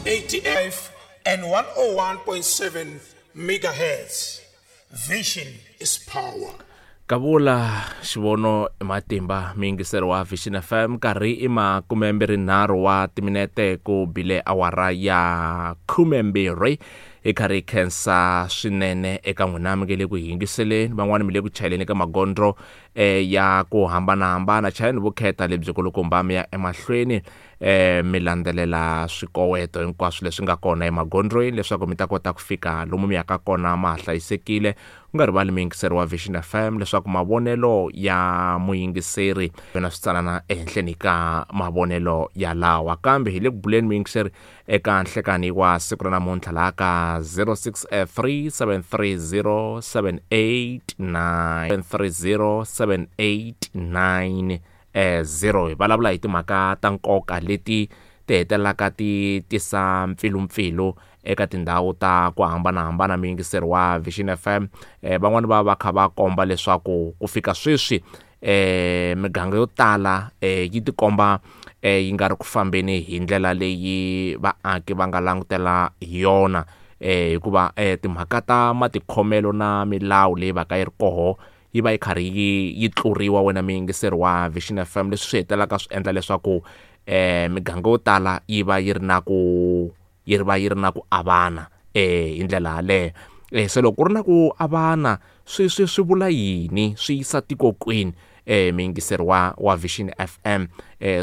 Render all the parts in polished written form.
85 and 101.7 megahertz. Vision is power. Kavula xivono i matimba miyingiseri wa Vision FM nkarhi i 23 wa timinete ku bile awara ya 12 hi karhi hi khensa swinene eka n'wina mi nge le ku yingiseleni van'wani mi le ku chayeleni ka magondzo ya ku hambanahambana chayeleni vukheta lebyi kulukumba mi ya emahlweni mi landzelela swikoweto hinkwaswo leswi nga kona emagondzweni leswaku mi ta kota ku fika lomu mi yaka kona ma ha hlayisekile u nga rivali muyingiseri wa Vision FM leswaku mavonelo ya muyingiseri na switsanana ehenhleni ka mavonelo ya lawa kambe hi le ku buleni muyingiseri eka nhlekani wa siku ra namuntlha laha ka 063 730 789 730 789 0 hi vulavula hi timhaka ta nkoka leti ti hetelelaka ti tisa mpfilumpfilu eka tindhawu ta ku hambanahambana muyingiseri wa Vision FM van'wani va va kha va komba leswaku ku fika sweswi miganga yo tala yi tikomba yi nga ri ku fambeni hi ndlela leyi vaaki va nga langutela hi yona hikuva timhaka ta matikhomelo na milawu leyi va ka yi ri koho yi va yi karhi yi tluriwa wena muyingiseri wa Vision FM leswi swi hetelelaka swi endla leswaku miganga yo tala yi va yi ri na ku yi ri va yi ri na ku avana hi ndlela yaleyo se loko ku ri na ku avana swi swi swi vula yini swi yisa tiko kwini muyingiseri wa Vision FM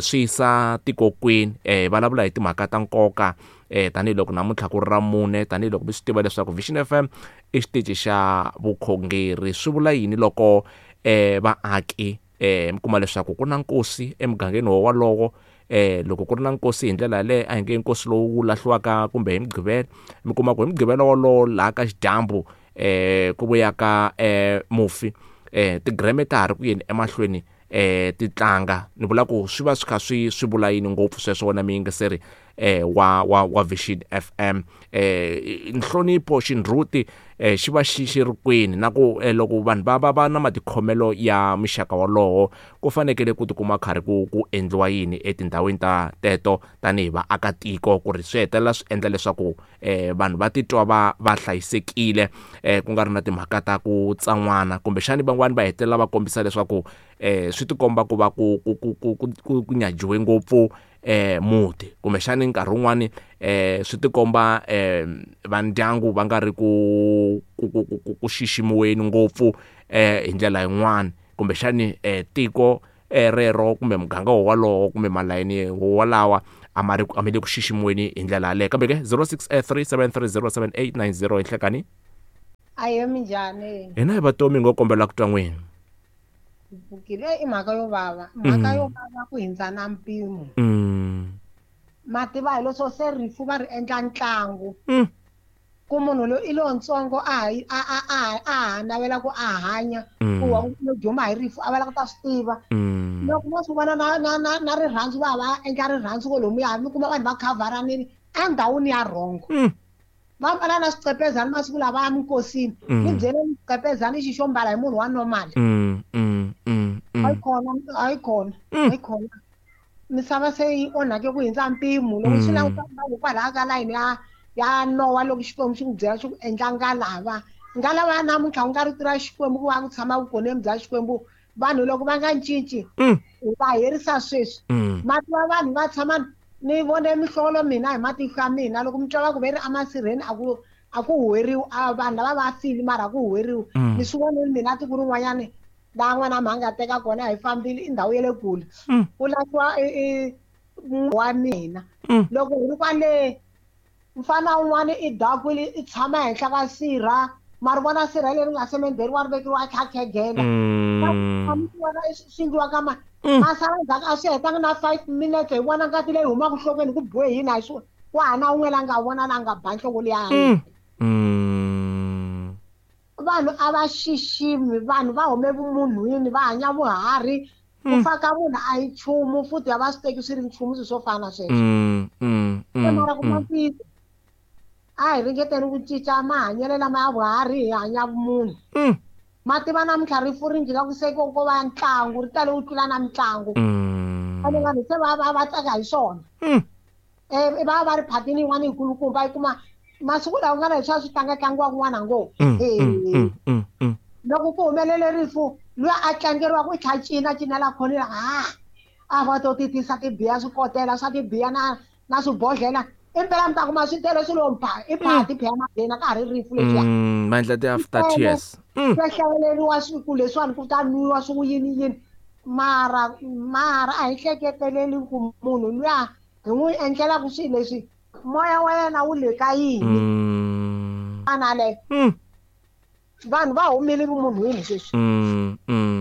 swi yisa tiko kwini vulavula hi timhaka ta nkoka tanihiloko namuntlha ku ri ra mune tanihiloko mi swi tiva leswaku Vision FM i xitichi xa vukhongeri swi vula yini loko vaaki mi kuma leswaku ku na nkosi emugangeni wolowo loko ku ri na nkosi hi ndlela yaleyo a hi nge nkosi lowu wu lahliwaka kumbe hi mugqivela mi kuma ku hi mugqivela wolowo laha ka xidyambu ku vuya ka mufi tigireme ta ha ri ku yeni emahlweni ti tlanga ni vula ku swi va swi kha swi vula yini ngopfu sweswo wena muyingiseri wa Vision FM nhlonipho xindhuti xi va xi xi ri kwini na ku loko vanhu va na matikhomelo ya muxaka wolowo ku fanekele ku tikuma karhi ku endliwa yini etindhawini ta teto tanihi vaakatiko ku ri swi hetelela swi endla leswaku vanhu va titwa va hlayisekile ku nga ri na timhaka ta ku tsan'wana kumbexani van'wani va hetelela va kombisa leswaku swi tikomba ku va ku nyajiwe ngopfu muti kumbexani nkarhi wun'wani swi tikomba va ndyangu va nga ri ku xiximiweni ngopfu hi ndlela yin'wani kumbexani tiko rero kumbe muganga wolowo kumbe malayini wolawa a ma ri a ma le ku xiximiweni hi ndlela yaleyo kambe ke 0637307890 hi nhlekani ayo minjhani hina hi vatomi ngo kombela ku twa n'wina pfukile i mhaka yo vava mhaka yo vava ku hindza na mpimo mativa hi leswo se rifu va ri endla ntlangu ku munhu loyi i lontsongo a ha navela ku a hanya ku wa lo duma hi rifu a va lava ku ta swi tiva loko mo swi vona na rirhandzu va va endla rirhandzu ko lomuya mi kuma vanhu va khavharanile endhawini ya rhongo va mbala na swiqepezani masiku lava ya minkosini ni byeleni swiqepezani xi xo mbala hi munhu wa normal a yi kona misava se yi onhake ku hindza mpimo loko swi languta hikwalaho ka layini ya Nowa loko Xikwembu xi ku byela xi ku endla ngalava ngalava ya namuntlha ku nga rito ra Xikwembu ku va ku tshama vukoneni bya Xikwembu vanhu loko va nga cinci hi va herisa sweswi mati va vanhu va tshama ni vone mihlolo mina hi matihlo ya mina loko mi twa va ku ve ri emasirheni a ku huweriwi a vanhu lava va file mara a ku huweriwi ni swi vonile mina tiko rin'wanyani laha n'wana mhanga a teka kona hi fambile i ndhawu ya le kule ku lahliwa wa mina loko hi ri kwale mfana un'wana i dakwile i tshama henhla ka sirha mari vona sirha leri nga semendheriwa ri vekiwa kha khegela swi endliwa ka masala ndzhaku a swi hetanga na 5 minutes hi vona ngati leyi humaka nhlokweni ku biwe hina hi swona ku hana un'we la nga vona la nga ba nhloko liya vanhu a va xiximi vanhu va hume vumunhwini va hanya vuharhi ku fa ka munhu a hi nchumu futhi a va swi teki swi ri nchumu swilo swo fana na sweswo mara ku ntiyiso a hi ringeteni ku cinca mahanyelo lama ya vuharhi hi hanya vumunhu mativa namuntlha rifu ri njhika ku se ko va ntlangu ri tale ku tlula na mitlangu ene vanhu se va tsaka hi swona va va ri phatini yin'wana yikulukumba yi kuma masiku lawa nga na leswi swi tlanga-tlangiwa kun'wana ngopfu. Loko ku humelele rifu luya a tlangeriwaka i tlha cina cinela khonela a va to ti tisa tibiya swikotela swa tibiya na swibodhlela impela mi ta kuma swi tele swilo mpha i phati phela maghena ka ha ri rifu leswiya. Va endla ti-after tears. Swa hlawuleriwa siku leswiwani ku ta nwiwa swi ku yini yini mara a hi hleketeleli ku munhu luya hi n'wi endlelaka swilo leswi moya wa yena wu le ka yini. Ana le vanhu va humile vumunhwini sweswi.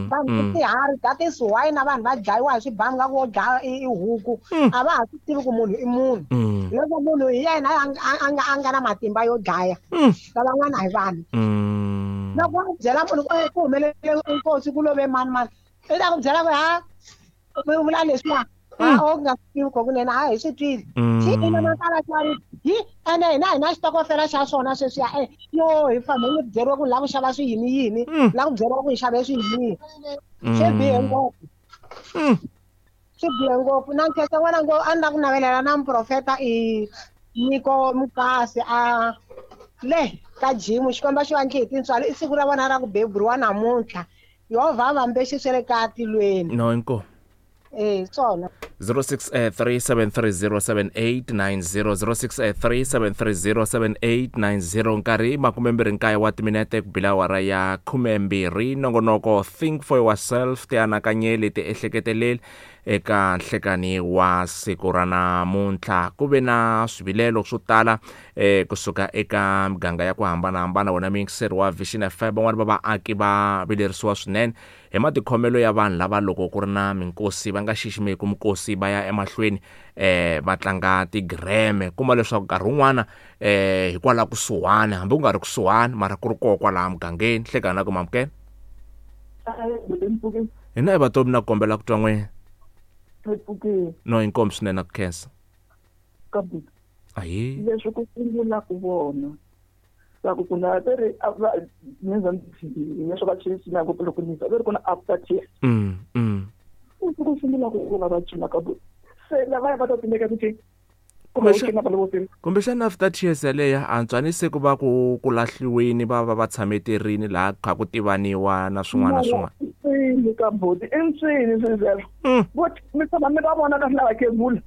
Vanhu i tiharhi that is why na vanhu va dlayiwa hi swibamu nga ku wo dlaya i huku. A va ha swi tivi ku munhu i munhu. Loko munhu hi yena a nga na matimba yo dlaya lavan'wana hi vanhu. Loko u byela munhu ku humelele nkosi ku love mani mani i ta ku byela ku ha u vula leswiwa o nga swi tivi kunene a hi swi twile. Xi ina makala xari hi ene hina hi na xitokofela xa swona sweswiya yo hi fambe ni byeriwa ku lava ku xava swi yini yini la ku byeriwa ku hi xave swi yini swi bihe ngopfu. Swi bihe ngopfu na nkhensa n'wana ngo a ni la ku navelela na muprofeta i Nyiko Mukasi a le ka jimu Xikwembu xi va ndle hi tintswalo i siku ra vona ra ku beburiwa namuntlha Yehovha a va mbexi swa le ka tilweni. No inkomu. Swona. 0637307890 0637307890 nkarhi 29 wa timinete ku bila awara ya 12. Nongonoko Think for Yourself, tianakanyeli tiehleketeleli eka nhlekani wa siku ra namuntlha. Ku ve na swivilelo swo tala kusuka eka miganga ya ku hambanahambana. Wena muyingiseri wa Vision FM, van'wani va vaaki va vilerisiwa swinene hi matikhomelo ya vanhu lava loko ku ri na minkosi va nga xiximeki minkosi va ya emahlweni va tlanga tigreme. Kuma leswaku nkarhi wun'wana hikwalaho kusuhani hambi ku nga ri kusuhani mara ku ri koho kwalaha mugangeni. Hlekani na ku mamukela hina i vatomi na kombela ku twa n'wina. No inkomu swinene ku khensa. Ahi leswi ku sungula ku vona va ku kuna va ri ni leswi va cina ngopfu loko ni va ri kuna after tears. Ku sungula ku vona va cina ka se lava va ta timeka ku cina. Kumbexana after tears yaleyo antswanise ku va ku lahliweni va va va tshameterini laha kha ku tivaniwa na swin'wana na swin'wana. Ni ka boti i ntswini sweswo. Vo mi tshama mi va vona ka lava khegula.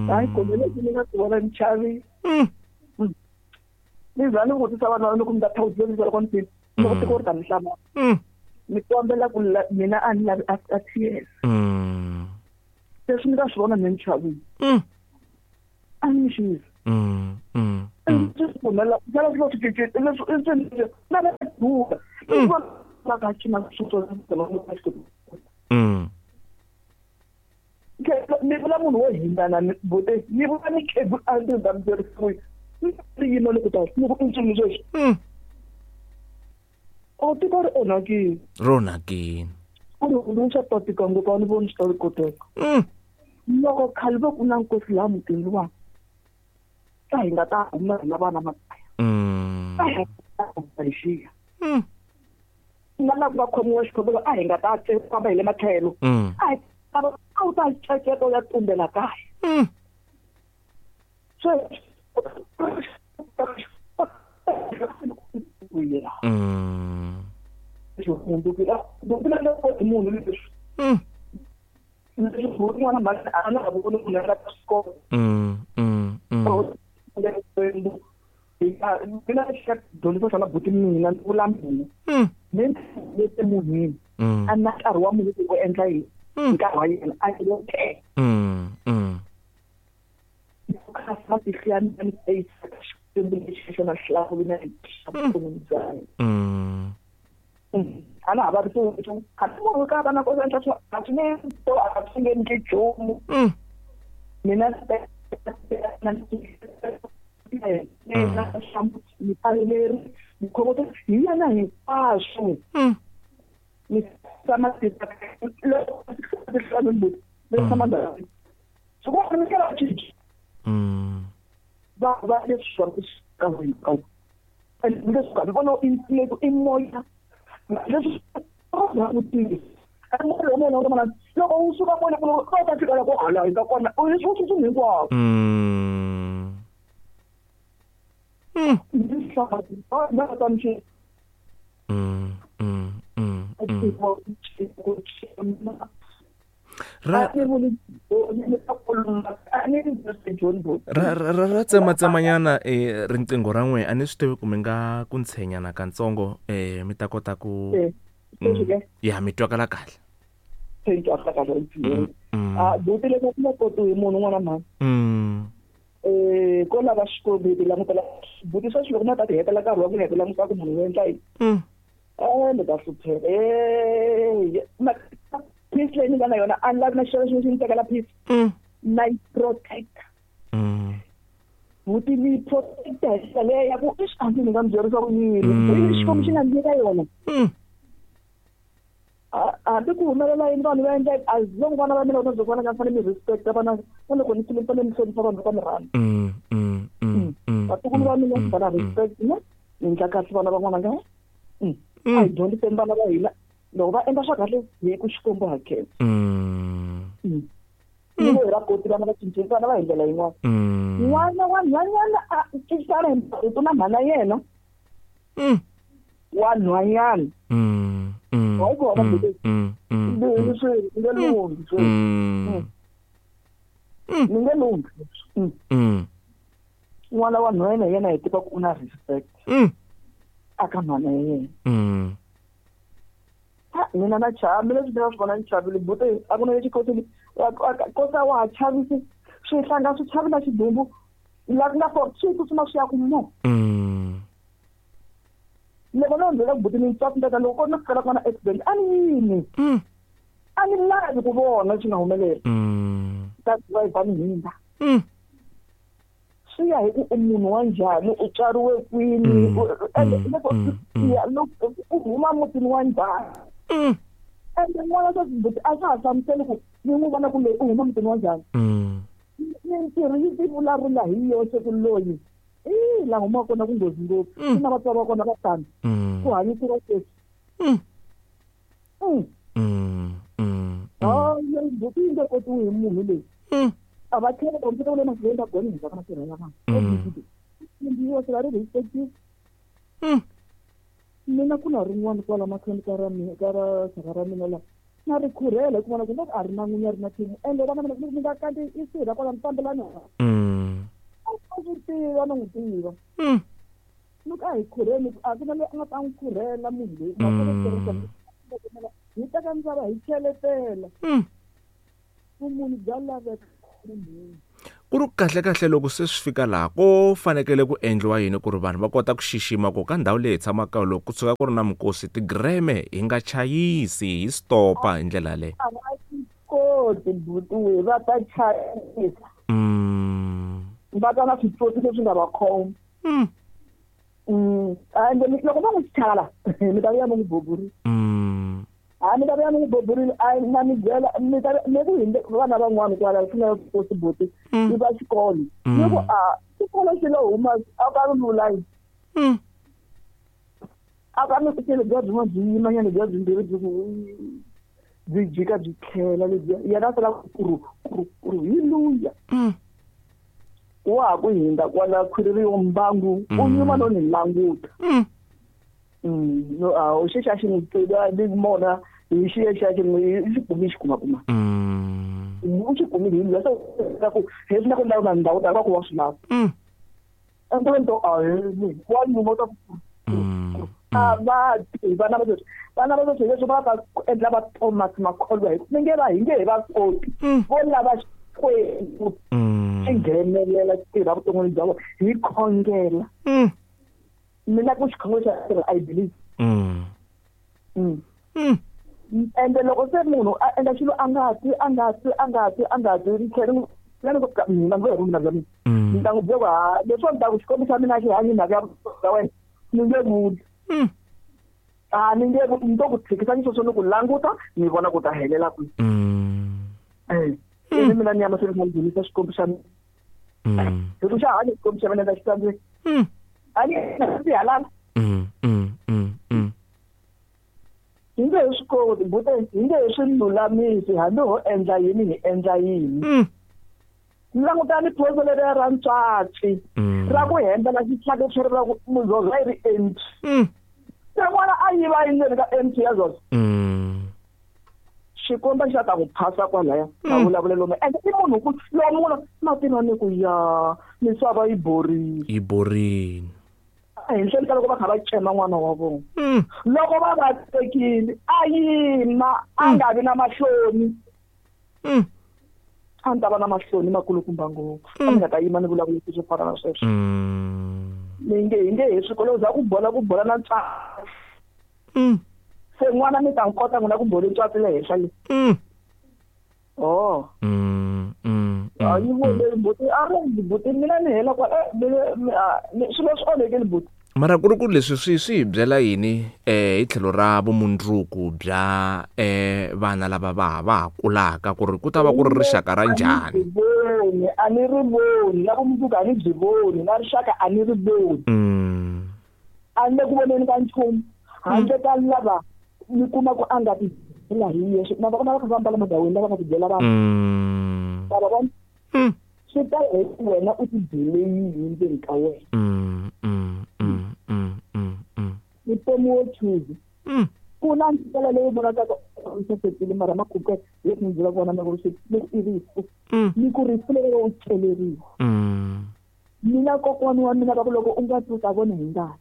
Hayi kumbe leswi ni nga swi vona ni chavile. Ni za ni vutisa vanhu va loko mi ta thawuzela loko ni fika loko tiko ri ta mi hlamala. Ni kombela ku mina a ni lavi after tears. Leswi ni nga swi vona ni chavile. A ni xisa. Ni vula munhu wo hindana bote ni vula ni khegula a ndzi ta mi byerisa ni yima loko ta ni ku intswini sweswi. O tiko ri onhakile. Ri onhakile. Ku ri hundzuluxa ta tika ngopfu a ni voni swi ta koteka. Loko khale va ku na nkosi laha mutini wa ta hi nga ta huma hina vana makaya. Ta hi nga xiya. Na lava va khomiwa xikhongelo a hi nga ta famba hi le matlhelo. A a wu ta ceketa u ya tumbela kaya. Sweswi munhu leswi Ana va ri ku kha munhu ka vana ko endla swa a swi nge to a swi nge endli nchumu. Mina hi yena hinkwaswo. Ni tshama va leswi ka leswi i moya leswi loko u suka kona ku ta fika la ku hala hi ka kona u leswi u hinkwaswo. Ra ra tsema tsemanyana riqingho ra n'we a ni swi tivi ku mi nga ku ntshenyana katsongo mi ta kota ku ya mi twakala kahle. Buti loko ku nga kotiwi munhu un'wana mhani ko lava xikwembu hi ti langutela buti sweswi loko na ta ti hetela nkarhi wa ku heta languta ku munhu u endla yini ni ta hlupheka peace leyi ni nga na yona a ni lavi na xilo xin'we xi ni tekela peace na yi protect buti ni protecta hi ndlela leyi ya ku i hambi ni nga mi byerisa ku yini xikwembu xi nga ni nyika yona hambi ku humelela yini vanhu va endla as long vana va mina vona byo vona nga fanele mi respect vana na loko ni kule fanele mi hlonipha vanhu va mi rhandza vatukulu va mina va na respect na ni endla kahle vana van'wana nga a hi dyondziseni vana va hina loko va endla swa kahle hi ku xikwembu hakela ni hi ra koti vana va cincile vana va hi ndlela yin'wana n'wana wa nhwanyana a cincana hi marito na mhana yena wa nhwanyana wa yi vona leswi nge lunghi swi ni nge lunghi n'wana wa nhwanyana yena hi tiva ku u na respect aka mhana ya yena mina na chava leswi ni nga swi vona ni chavile buti a ku na lexi kosini kosa wa ha chavisi swihlanga swi chavi na xidumbu la ku nga for swi tsutsuma swi ya ku mo loko no ndlela buti ni twa ndlela loko no fikela ku na accident a ni yimi a ni lavi ku vona swi nga humelela ta driver ni hindza swi ya hi ku u munhu wa njhani u tswariwe kwini loko u huma mutini wa njhani ende n'wana swa buti a swa ha hlamuseli ku ni n'wi vona ku loyi u huma mutini wa njhani mintirho yi ti vulavula hi yoxe ku loyi i la humaka kona ku nghozi ngopfu na vatswari va kona va tani ku hanyisiwa sweswi buti yi nge kotiwi hi munhu leyi a va tlhela va ndzi vula mahlweni va gone hi ka matirha ya vanhu ndzi yo swi va ri respective mina ku na rin'wana kwala mahlweni ka ra mina ka ra xaka ra mina la na ri khurhela hi ku vona ku nga a ri na n'winyi a ri na thimu ende vana mina mi nga kanti i sirha kwala mi fambelani a swi tiva na n'wi tiva loko a hi khurheni a ku na loyi a nga ta n'wi khurhela munhu loyi hi teka misava hi cheletela vumunhu bya laveka ku ri kahle kahle loko se swi fika laha ko fanekele ku endliwa yini ku ri vanhu va kota ku xixima ku ka ndhawu leyi hi tshamaka loko ku tshuka ku ri na minkosi tigreme hi nga chayisi hi stopa hi ndlela leyi a va swi koti buti va ta chayisa va ta na switsotsi leswi nga va khoma ende loko va n'wi chala mi ta vuya mi n'wi buburile a mi ta vuya mi n'wi buburile a na mi byela mi ta mi ku hinde vana van'wana kwala swi nga kosi buti i va xikolo ni ku a xikolo xi lo huma a ka ri lulayi a ka mi fikele bya byin'wana byi yimanyana bya byimbirhi byi ku byi jika byi tlhela lebyiya yena a sala kuru kuru kuru hi luya wa ha ku hindza kwala khwiri ri yo mbangu u nyuma no ni languta no a u xi xa xi n'wi tiva ni mona hi xi xa xi n'wi xi kumi xi kuma kuma u xi kumile hi luya se ku heswi na ku lava ndhawu ta va ku wa swi lava ende nto a hi wa nyuma u ta ku a va vana va sweswi vana va sweswi leswi va ta endla va Thomas Makholwa hi mi nge va hi nge he va koti vo lava Xikwembu xi nghenelela xi tirha vuton'wini bya vona hi khongela mina ku xikhongelo xa tirha I believe ende loko se munhu a endla xilo a nga twi a nga twi a nga twi a nga twi ni tlhela ni ku mina ni mina bya mina ni ta n'wi byela ku ha leswo ni ta ku xikwembu xa mina xi hanyi mhaka ya wena ni nge vuli a ni nge ni to ku tshikisa ni sweswo ni ku languta ni vona ku ta helela kwihi ivi mina ni ya mahlweni kha ni dzunisa xikwembu xa mina hi ku xa hanya xikwembu xa mina xi tsandzeki a ni ndzi halala hi nge he swi koti bute hi nge he swi lulamisi hambi ho endla yini hi endla yini Langutani phoso leriya ra ntswatsi ra ku hembela xitlhaka xi ri ra ku Zozo yi ri empty. Se n'wana a yiva endzeni ka empty ya Zozo. Xikomba xa ta ku phasa kwalaya mavulavulelo ma ende i munhu ku lomu mativa ni ku ya misava yi borile. Yi borile. Ehenhleni ka loko va kha va cema n'wana wa vona. Loko va va tekile a yima a nga vi na mahloni. A ni ta va na mahloni makulukumba ngopfu. A ni nga ta yima ni vulavula swo fana na sweswo. Ni nge hi nge hi swikolo za ku bola na ntswatsi. Se n'wana mi ta nkota n'wina ku bola ntswatsi le henhla le. Oh. A yi vone buti a ri buti mina ni hela kwa swilo swi onhekile buti. Mara ku ri ku leswi swi hi byela yini hi tlhelo ra vumundzuku bya vana lava va ha kulaka ku ri ku ta va ku ri rixaka ra njhani? A ni ri voni na vumundzuku a ni byi voni na rixaka a ni ri voni. A ni le ku voneni ka nchumu handle ka lava ni kuma ku a nga ti byela hi yexe na va kona va kha va ambala madawini lava nga ti byela vanhu. Va vona swi ta hi wena u ti byele yini ndzeni ka wena. Vutomi wo choose. Ku na ndlela leyi vonakaka u sasekile mara makhuphe leswi ni byela kona na ku ri i rifu. Ni ku rifu leri u celeriwa. Mina kokwani wa mina va ku loko u nga twi u ta vona hi ngati.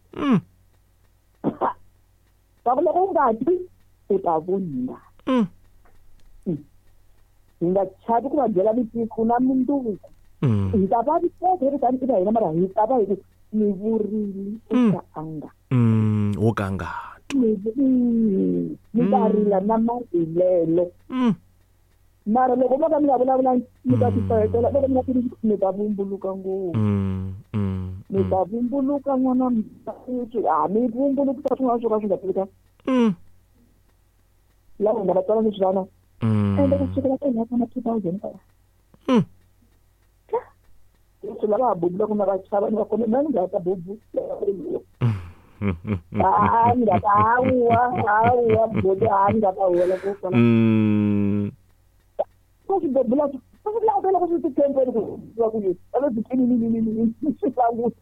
Va ku loko u nga twi u ta vona hi ngati. Hi nga chavi ku va byela mitiku na mundzuku. Hi ta va viteka hi ri tani eka hina mara hi ta va hi ku ni vurile u ka a nga. Wo ka nga twi. Ni ta rila na marilelo. Mara loko mo ka mi nga vulavula mi ta tifahetela loko mi nga tirhisi mi ta vumbuluka ngopfu. Mi ta vumbuluka n'wana a mi vumbulukisa swin'wana swo ka swi nga tivekanga. Lava nga va tswala leswi vana. Ende ku sukela ka hina ka 2000 ka. Leswi lava ha bubulaka na va chava ni va khome mina ni nga ta bubu. A ni nga ta hawa bubu a ni nga ta huwela ku fana. Ku swi bubula swi langutela ku swi titempeni ku va ku yini a va byi ni swi languta.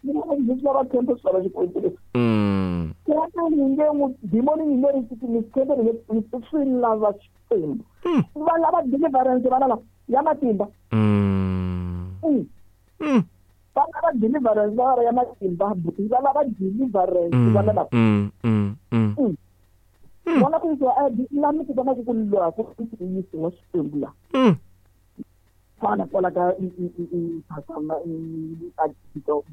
Mina ndzi swi lava tempe swi lava xikwembu leswi. Ni nge n'wi dimoni ni nge ri ni tempe ni swi lava xikwembu. Va lava deliverance vana lava ya matimba. Va lava deliverance va ya matimba va lava deliverance vana lava. Vona ku yisiwa la mi ku vona ku ku lwa ku yisiwa xikwembu la. Fana kwala ka phasama a tito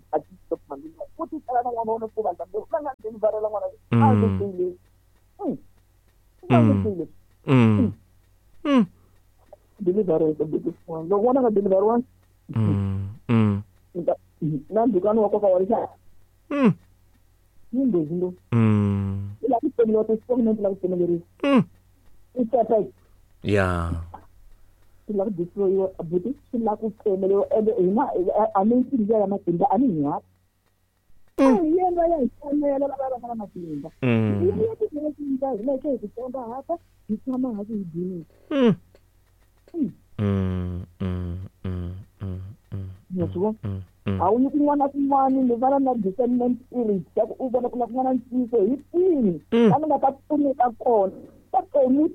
mandla ku ti tsala na n'wana ku va va nga deliverela n'wana a ndzi tile. Deliverance buti loko n'wana nga deliveriwa na ndukani wa koka wa rixaka. Yi nghozi ngopfu. I lava ku tsemeliwa ti-statement lava ku tsemeleriwa. I separate. Yeah. Swi lava ku destroyiwa buti swi lava ku tsemeliwa ende hina a ni ndlela ya matimba a ni hi hapa. Hi yena ya hi tsemela lava va nga na matimba. Hi ya ti hina hi hi titsonga hapa hi tshama hansi hi dzunisa. A wu yi kun'wana na kun'wana ni va na discernment spirit ya ku u vona ku na kun'wana ntiyiso hi kwini la ni nga ta pfuneka kona ta tlomu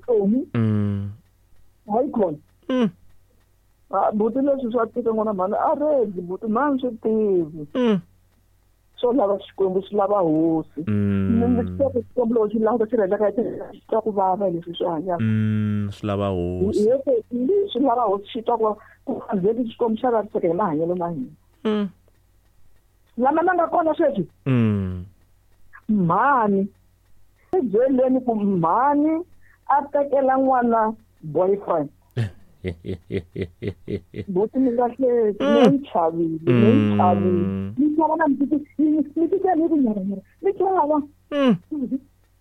hayi khona. Buti leswi swa tika n'wana mhani a redi buti mhani swi tivi. Swo lava xikwembu swi lava hosi. Ni swi xikwembu loko xi languta xi rhandza ka xi twa ku vava leswi swi hanyaka. Swi lava hosi. Swi lava hosi xi twa ku vava ku andzeli xikwembu xa vaviseka hi mahanyelo ma hina. Lama ma nga kona sweswi. Mhani i byeleni ku mhani a tekela n'wana boyfriend. Buti mi nga hleki ni chavile ni chava na mi titwa ni ku nyaranyara ni chava.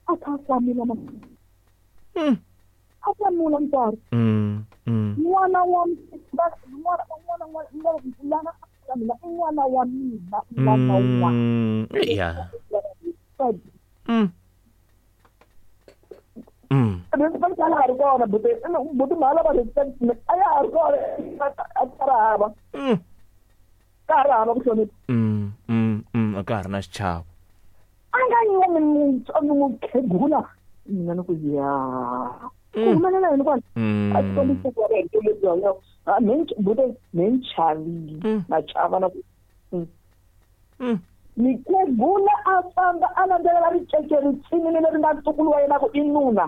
A kha hlamula a hlamula mutswari. N'wana wa n'wana mina i n'wana wa mina n'wana wa. Yeah. Respect a ha ri kona buti buti mhala va respect a ya ha ri kona a ka ri hava. Ka ha ri hava ku hlonipha. A ka ha ri na xichavo. A nga nyumi mukhegula mina ni ku ya. Ku humelela yini kwala? A swi kombisa ku va hi lebyi hanyaka. Buti me ni chavile. Na chava na ku. Mikhegula a famba a landzelela ricece ritsinini leri nga ntukulu wa yena ku i nuna.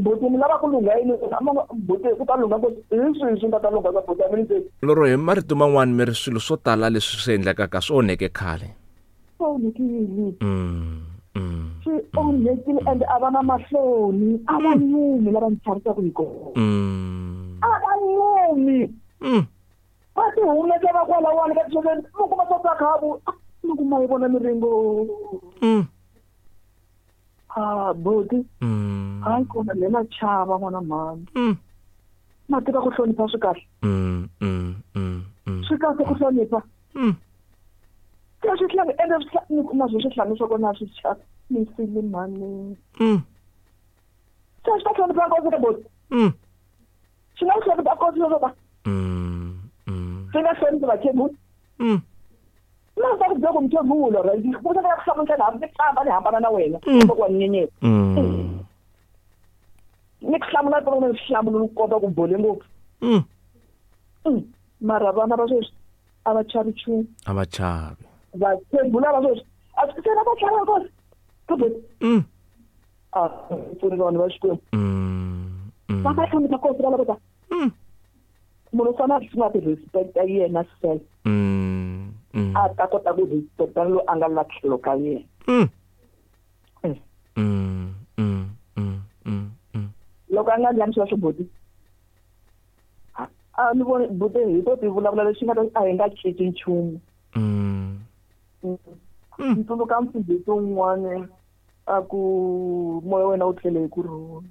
Buti mi lava ku lungha yini? Buti ku ta lungha ngopfu hi swihi swi nga ta lungha ka buti a mi ni se. Lero hi marito man'wani mi ri swilo swo tala leswi swi endlekaka swi onheke khale. Swi onhekile. Swi onhekile ende a va na mahloni a va nyumi lava ni chavisaka hi kona. A va nyumi. Va ti humesa va kwalawani ka tisokeni mi kuma swa ta khavu mi kuma yi vona miringo. Ah buti. Hayi kona le na chava n'wana mhani. Ma tiva ku hlonipha swi kahle. Swi kahle ku hlonipha. Se swi hlanga ende mi kuma swi swi swa kona swi chavisile mhani. Se swi ta hlonipha nkosi ka buti. Swi nga hlonipha nkosi leswo ta. Swi nga hloniphi vakhegula. Na ta ku byela ku mukhegula right ku ta ku hlamula hambi ni famba ni hambana na wena kumbe ku wa nyenyeta. Ni ku hlamula ku ni hlamula ni kota ku bole ngopfu. Mara vana va sweswi a va chavi nchumu. A va chavi. Vakhegula va sweswi a swi se na va chava nkosi. A pfuni vanhu va Xikwembu. Va nga hlonipha nkosi va lava ta. Munhu u fanele a sungula ku respect-a yena self. A ta kota ku respect-a loyi a nga la tlhelo ka yena. Loko a nga ndlani sweswo buti. A ni voni buti hi to ti vulavula leswi nga ta a hi nga cinci nchumu. Ni tsundzuka mfundhisi un'wana a ku moya wa wena wu tlele hi ku rhula.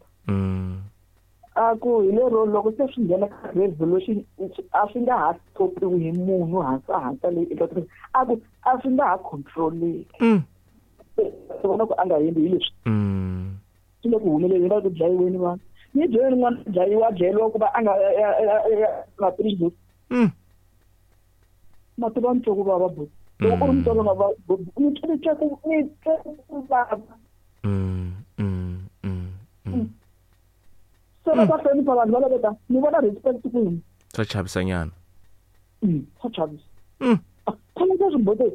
A ku hi lero loko se swi nghena ka revolution a swi nga ha stopiwi hi munhu hansi hansi leyi eka a ku a swi nga ha controleki. Vona ku a nga hembi hi leswi. Swi le ku humeleleni va ku dlayiweni vanhu. Ni byeleni n'wana dlayiwa dlayeriwa ku va a nga nga tirhi. Ma tiva ni twa ku vava buti. Loko u ri mutswari u nga va ni twa ku ni twa ku vava. Se va ta hlonipha vanhu va laveka ni vona respect kwini. Swa chavisanyana. Swa chavisa. Khona ka swibote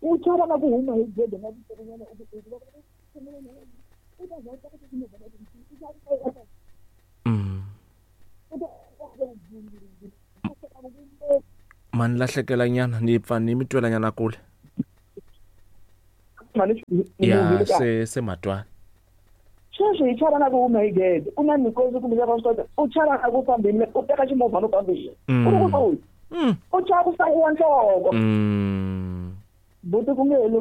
u chava na ku huma hi gede na tinyana u Ma ni lahlekela nyana ni pfa ni mi twela nyana kule. Ya se matwana. Sweswi hi chava na ku huma hi gede ku na mikosi kumbe va swi kota u chava na ku fambile u teka ximovhana u fambile. U ri ku kusuhi. U chava ku sayiwa nhloko. Buti ku nge heli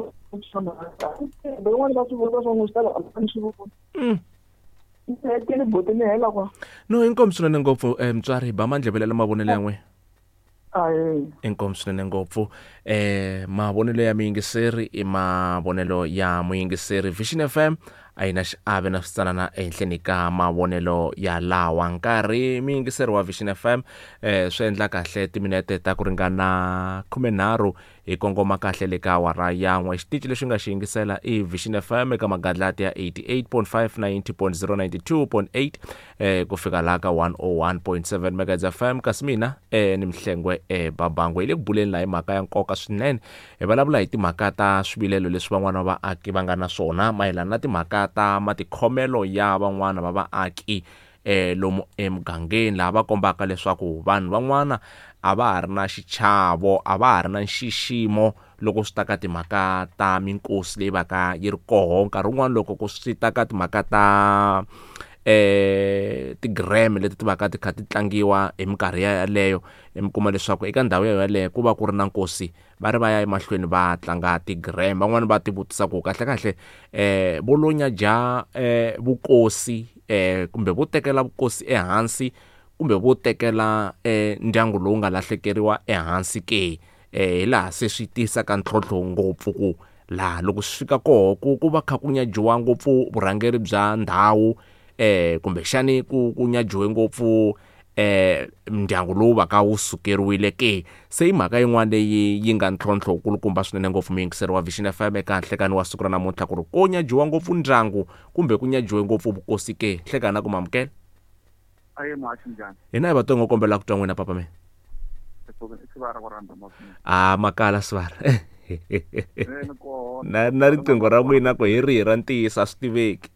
van'wana va swi vula swa n'wi swi tala a ni swi voni. Ni hetile buti ni hela kwa. No inkomu swinene ngopfu mutswari ba mandleve la mavonelo ya n'wina. Inkomu swinene ngopfu mavonelo ya muyingiseri i mavonelo ya muyingiseri. Vision FM a yi na xiave na switsanana ehenhleni ka mavonelo ya lawa nkarhi muyingiseri wa Vision FM swi endla kahle timinete ta ku ringana 13 hi kongoma kahle le ka awara ya 1. Xitichi lexi nga xi yingisela i Vision FM eka magadlati ya 88.5 90.0 92.8 ku fika laha ka 101.7 megahertz FM. Kasi mina ni Mhlengwe Babangwe hi le ku buleni laha hi mhaka ya nkoka swinene. Hi vulavula hi timhaka ta swivilelo leswi van'wana va vaaki va nga na swona mayelana na timhaka ta matikhomelo ya van'wana va vaaki lomu emugangeni, laha va kombaka leswaku vanhu van'wana a va ha ri na xichavo, a va ha ri na nxiximo loko swi ta ka timhaka ta minkosi leyi vaka yi ri koho. Nkarhi wun'wani loko ku swi ta ka timhaka ta ti-gram leti ti vaka ti kha ti tlangiwa hi minkarhi yaleyo, mi kuma leswaku eka ndhawu yaleyo ku va ku ri na nkosi, va ri va ya emahlweni va tlanga ti-gram. Van'wani va ti vutisa ku kahle kahle vo lonya dya vukosi kumbe vo tekela vukosi ehansi kumbe vo tekela ndyangu lowu nga lahlekeriwa ehansi ke, hi laha se swi tisaka ntlhontlho ngopfu ku Laha loko swi fika koho ku va kha ku nyajiwa ngopfu vurhangeri bya ndhawu kumbexani ku nyajiwe ngopfu ndyangu lowu va ka wu sukeriwile ke. Se i mhaka yin'wana leyi yi nga ntlhontlho wukulukumba swinene ngopfu muyingiseri wa Vision FM eka nhlekani wa siku ra namuntlha, ku ri ko nyajiwa ngopfu ndyangu kumbe ku nyajiwe ngopfu vukosi ke. Nhlekani na ku mamukela. Aye muhaxi, njhani? Hina hi vatongo, kombela ku twa n'wina papa mina. A makala sivara na riqingho ra n'wina ku hi rihi ra ntiyiso a swi tiveki.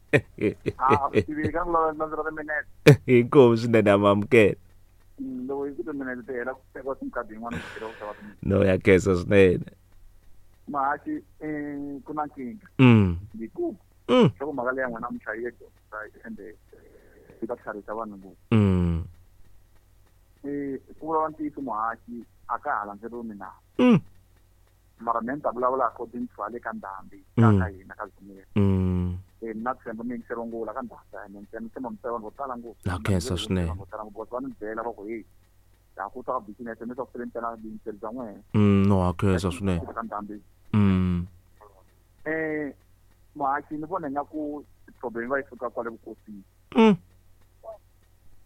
Inkomu swinene, amamukela. No ya khensa swinene. Muhaxi, ku na nkingha yikulu. Loko mhaka leya n'wina namuntlha yi ende yi ta tlharisa vanhu ngopfu. Ku vulavula ntiyiso muhaxi, a ka ha landzeleriwi milawu. Mara me ni ta vulavula according to hale ka ndhambi ka hina ka Dzumeri. Mina tshemba mi yingiseriwa ngopfu la ka ndhambi, ene ni tshemba mi vanhu vo tala ngopfu. Na khensa swinene. Vanhu vo tala ngopfu va ni byela va ku hey, ha ku ta ka business mi swa ku sele ntsena vuyingiseri bya n'wehe. No ha khensa swinene. Ka ndhambi. Muhaxi, ni vona ingaku problem va yi suka kwale vukosini.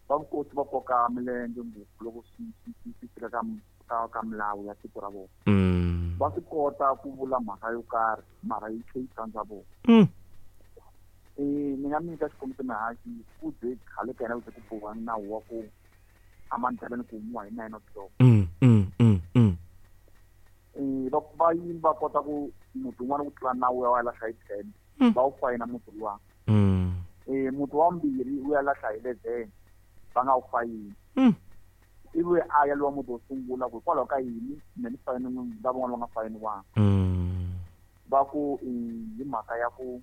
Va vukosi va koka milenge ngopfu loko swi fika ka milawu ya tiko ra vona. Va swi kota ku vula mhaka yo karhi, mara yi tlhe yi tsandza vona. Ni nga mi nyika xikombiso mihaxi, ku ze khale ka hina ku ze ku boha nawu wa ku amandleleni ku humiwa hi 9 o'clock. Va yini va kota ku muti wun'wana wu tlula nawu wa lahla hi 10, va wu fayina muti luwa. Muti wa vumbirhi wu ya lahla hi 11, va nga wu fayini. Ivi a ya luwa muti wo sungula ku hikwalaho ka yini me ni fayini lavan'wana va nga fayiniwanga? Va ku hi mhaka ya ku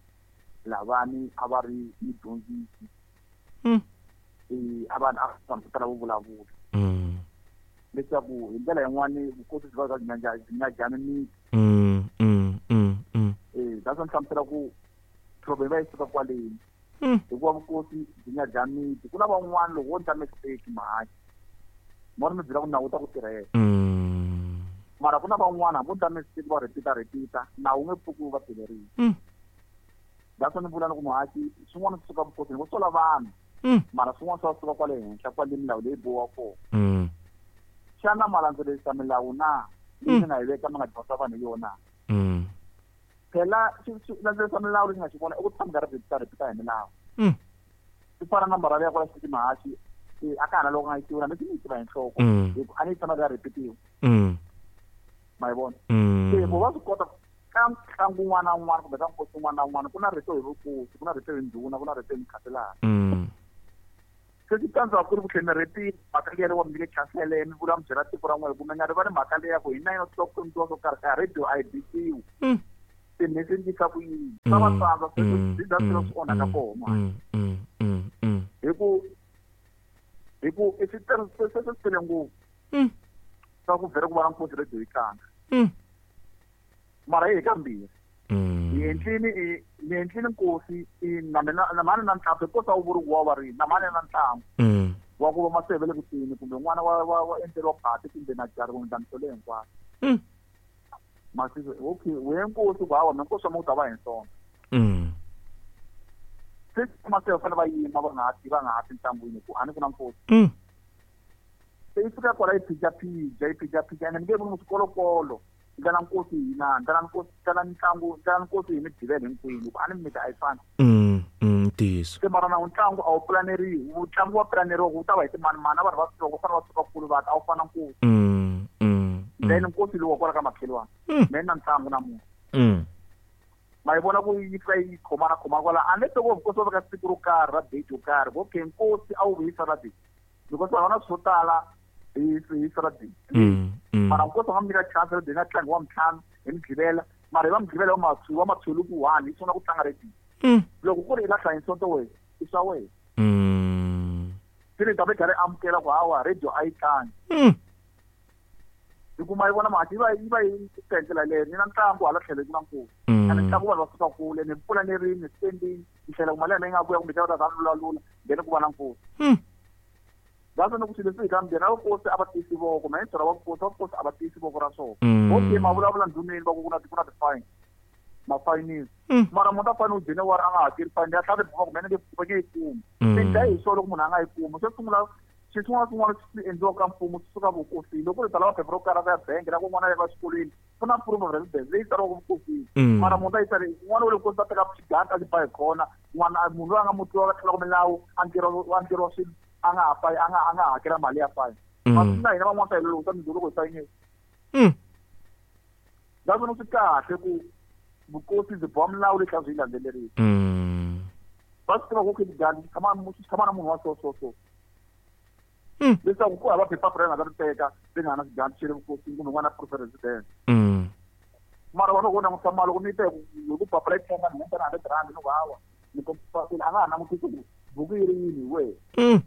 lavani a va ri mudyondzisi, a va a vanhu vo tala vo vulavula leswaku hi ndlela yin'wani vukosi byi va byi nyajani miti. That's ni hlamusela ku problem va yi suka kwaleni, hikuva vukosi byi nyadya miti. Ku na van'wana loko wo ndla mistake mahaxi, mo ri mi byela ku nawu wu ta ku tirhela, mara ku na van'wana hambi u ndla mistake va repeat repeat, nawu wu nge pfuki wu va tirherile. That's ni vula ni ku muhaxi, swin'wana swi suka vukosini vo sola vanhu, mara swin'wana swa suka kwale henhla, kwale milawu leyi bohiwa kona. Xana ma landzelerisa milawu na leyi mi nga yi veka, mi nga dyondzisa vanhu hi yona? Phela landzelerisa milawu lexi nga xi vona i ku tshama karhi repeat repeat hi milawu. Swi fana na marali ya kwala xititi mahaxi, a ka ha na loko nga yi tiva na mi yi tiva hi nhloko, hi ku a ni yi tshama ka repetiwa. Ma yi vona? Se vo va swi kota ka ntlangu wun'wana na wun'wana kumbe ka nkosi wun'wana na wun'wana, ku na rito hi vukosi, ku na rito hi ndhuna, ku na rito hi mukhanselara. Se swi tsandza ku ri ku tlhela mi repeat mhaka liya loko mi nyike chancele, mi vula mi byela tiko ra n'wina ku mi nga rivali mhaka leya ku hi 9 o'clock ku endliwa swo karhi, ka radio a yi bisiwi. Se mi swi endlisa ku yini? Swa va tsandza swi za swilo swi onhaka kona. Hi ku i swi se swi tele ngopfu swa ku vhele ku va na nkosi, radio yi tlanga, mara hi kambirhi hi endlini ni endlini nkosi i na mina na mani na ntlhambi nkosi a wu vuri ku wa va rini na mani na ntlangu wa ku va maseve le kutini kumbe n'wana wa endleriwa phati kumbe na jari kumbe ndlamiso leyi hinkwayo. Masiku okay, we nkosi ku hawa me nkosi wa mi wu ta va hi nsonto. Se maseve fanele va yima, va nga ha ti ntlangwini ku a ni ku na nkosi. Se yi fika kwala yi phija yi phija ene mi nge voni mu swikolokolo ndlela nkosi hi na ndlela nkosi, ndlela ntlangu, ndlela nkosi hi Migqivela hinkwenu ku a ni miti a yi fani. Ntiyiso. Se mara na ntlangu a wu pulaneriwi, ntlangu wa pulaneriwa ku wu ta va hi timanimani na vanhu va swi va fanele va suka kulu va ta a wu fana nkosi. Then nkosi lowu wa kwala ka makhelwani me na ntlangu namuntlha. Ma yi vona ku yi fika yi khomana khomana kwala, unless loko vukosi va veka siku ro karhi ra date yo karhi, okay, nkosi a wu vi hi Saturday because va na swo tala hi Saturday. Mara nkosi va nga mi nyika chance radio yi nga tlangi wa mintlhanu hi Mugqivela, mara hi va Mugqivela wa mathuluku 1 yi sungula ku tlanga radio. Loko ku ri i lahla hi Sonto, wena i swa wena. Se ni ta ve karhi amukela ku hawa radio a yi tlangi. Hi kuma yi vona mhaka yi va yi hi ndlela leyo ni na ntlangu hala tlhelo ku na nkosi. Ene ntlangu vanhu va suka kule ni pulanerini ni spendini ni tlhela ku mali ya mina yi nga vuya kumbe xa va ta lulalula, then ku va na nkosi. That's ni ku swilo leswi hi kambirhi na vukosi a va tiyisi voko, ma yintsora va vukosi a va tiyisi voko ra swona. Okay, ma vulavula ndhuneni va ku ku na ti-fine. Ma fayinile. Mara munhu a fanele u January a nga hakeli fine ya tlhava tibuku kumbe nge va nge yi kumi. Swi dlaya hi swona loko munhu a nga yi kumi. Xo sungula xi xin'wana na xin'wana xi endliwaka ka mfumo swi suka vukosini. Loko ku ri ta lava phepha ro karhi ra ku ya bank ra ku n'wana a ya exikolweni ku na proof of residence leyi tsariwaka vukosini. Mara munhu ta yi tsale n'wana wa le vukosini ta teka xiganta a xi ba hi khona n'wana munhu loyi a nga mutwiwa a tlulaka milawu a endleriwa a endleriwa swilo a nga ha fayi a nga a nga hakela mali ya fine. Masiku na hina van'wana ta hi loko ta loko hi sayinile. Ndza vona swi kahle ku vukosi byi boha milawu leyi tlhela byi yi landzelerisa. Va swi tiva ku okay xigandla xi tshama xi tshama na munhu wa so so so. Leswaku ku hava phepha ra nga ta ri teka ri nga na xigandla xa le vukosini kumbe n'wana proof of residence. Mara wena loko u langutisa mali loko ni yi teka hi ku papila yi tshemba ni hundza na R100 ni ku hawa ni kombisa a nga ha langutisi ku buku yi ri yini hi wena.